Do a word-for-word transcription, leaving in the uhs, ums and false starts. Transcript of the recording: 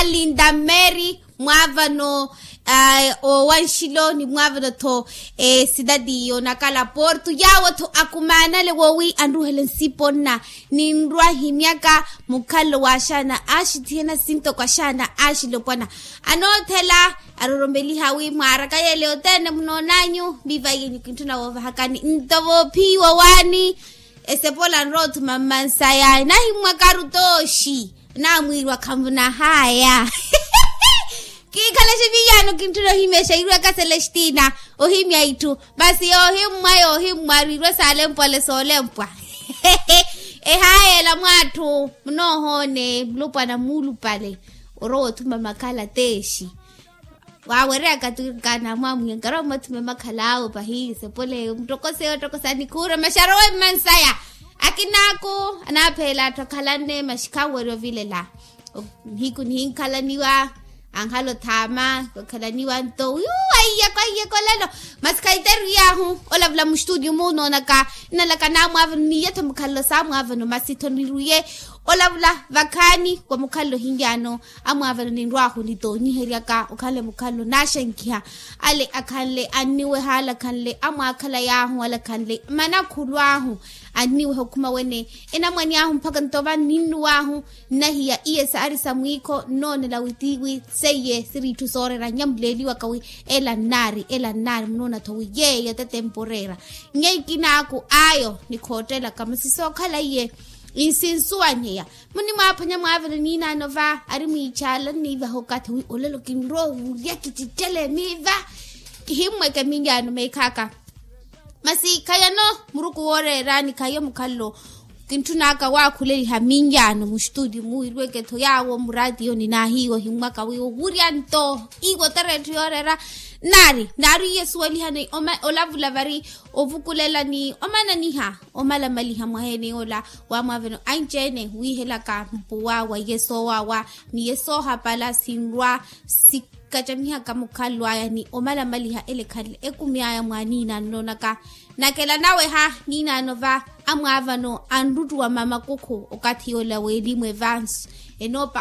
Linda mary mwaavano owanxilo ni mwaavano-tho, sitati yonakala portu yaawo-tho akumaanale woowi anruhele nsipa onna. Ninrwa himyaka mukhalelo wa axaana axithiyana sintoko axaana axilopwana anoothela. Aroromeliha wi mwaaraka yele othene munoonanyu mivaiyenyu kintthuna woovahakani nto voophiwa waani. Esepola nrowa othuma mmansaya nahimmwakaru tooxi. Namwiiriwa khanvunahaya. Kiikhalaxe miyaano kintthuna ohimya exeirweka selestina. Ohimya itthu masi yoohimmwa yoohimmwa ariirwe saalempwale soolempwa. Ehayela mwaatthu munoohoone mulupwana muulupale. Orowa othuma makhala teexi. Waawereyaka tukaana mwaamwiya nkarwa mwathuma makhala awo pahi sepole muttokoseya ottokosa nikhuura maxarowe mmansaya. Akinaaku anaapheela atthu akhalanne maxikhawerya ovilela. Nihiku nihinkhalaniwa ankhala othaama okhalaniwa nto wiwo aiyeko aiyeko lelo. Masi khaiteru yaahu olavula mustutio munoonaka nnalaka naamwaavano niiye-tho mukhalelo saamwaavano masi-tho niruye olavula vakhaani wa mukhalelo hinyaano. Amwaavano ninrwaahu nitoonyiheryaka okhanle mukhalelo naaxenkiha. Ale akhanle anniweha ale akhanle amwaakhala yaahu ale akhanle manakhulu ahu. Anniweha okhuma wene enamwani ahu mpakha ntova ninnuwaahu. Nnahiya iye saari sa mwiikho nnoonela wi tiiwi seiye siri itthu sooreera nyamuleeliwaka wi ela nnaari ela nnaari munoona-tho wi yeeyo tetempo oreera. Nyeikinaku ayo nikhoottelaka masi sookhala iye. Nsinsuwanyeya munimwaaphwanya mwaavela niinaano va ari mwiichaala nniivaha okathi wi olelo kinrowa owurya kicittele miiva. Kihimmweke miinyaano meekhaka. Masi khayano muruku wooreerani khayo mukhalelo. Kintthunaka waakhuleliha miinyaano mustutio muwirweke-tho yaawo muraatiyo ninaahiiwa ohimmwaka wi owurya nto iwo tera etthu yooreera. Nnaari nnaari iye suwelihani olavula vari ovukulela ni omananiha omalamaliha mwaheene yoola. Waamwaaveno anci-ene wiihelaka mpuwa wa iye soowaawa ni iye soohapala sinrwa sikacamihaka mukhalelo aya ni omalamaliha ele ekhanle ekumi aya mwaaniinaano noonaka. Nakela naweha niinaano va amwaavano anruttuwa mamakukhu okathi yoola weelimu evansu enoopa